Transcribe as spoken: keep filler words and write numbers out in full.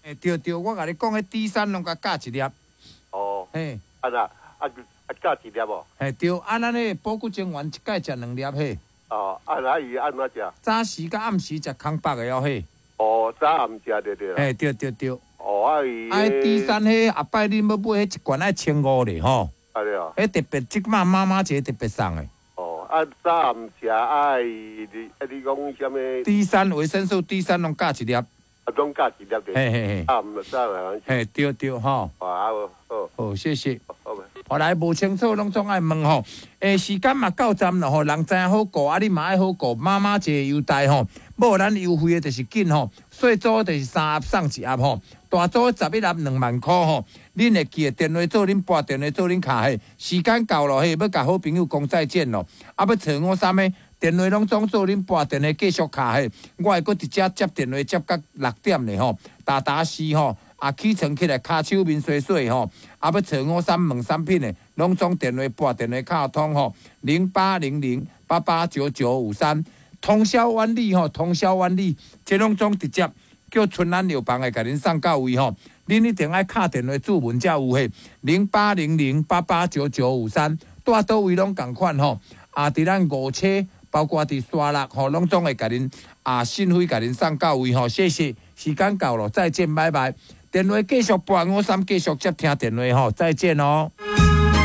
欸，對對，我共你講，彼 D 三攏共加一粒。哦。嘿。啊啦，啊啊加一粒無？嘿對，啊咱彼個補骨精丸一擺食兩粒嘿。哦，啊那伊按怎食？早時佮暗時食空腹的哦嘿。哦，早暗食對對。嘿對對對。哦，啊伊。啊 D 三彼後擺恁欲買彼一罐愛千五咧吼。啊對哦。彼特別這擺媽媽節特別送的。哦，啊早暗食啊伊，你啊你講啥物？D 三維生素 D 三攏加一粒。啊，攏加一粒對。嘿嘿嘿。啊，毋早暗。嘿對對吼。啊好。好，謝謝。好。後來無清楚，攏總愛問吼。欸，時間嘛到站了吼，人知影好顧，啊你嘛愛好顧。媽媽節優待吼，無咱優惠的就是緊吼，細組就是三盒送一盒吼，大組十一盒兩萬箍吼。恁會記得電話做恁撥電話做恁敲嘿，時間到了嘿，欲共好朋友講再見咯。啊，欲揣我啥物？電話攏總做恁撥電話繼續敲嘿，我會閣佇遮接電話接到六點咧吼，逐逐時吼。啊，起床起來，跤手面洗洗吼，啊，欲揣五三問產品的，攏總電話撥電話敲通吼，零八零零八八九九五三，通宵萬里吼，通宵萬里，這攏總直接叫春安藥房會共恁送到位吼，恁一定愛敲電話註文才有嘿，零八零零八八九九五三，蹛佗位攏仝款吼，啊，佇咱五車，包括佇沙鹿吼，攏總會共恁啊，信費共恁送到位吼，謝謝，時間到了，再見，拜拜。電話繼續撥五三，繼續接聽電話吼，再見哦。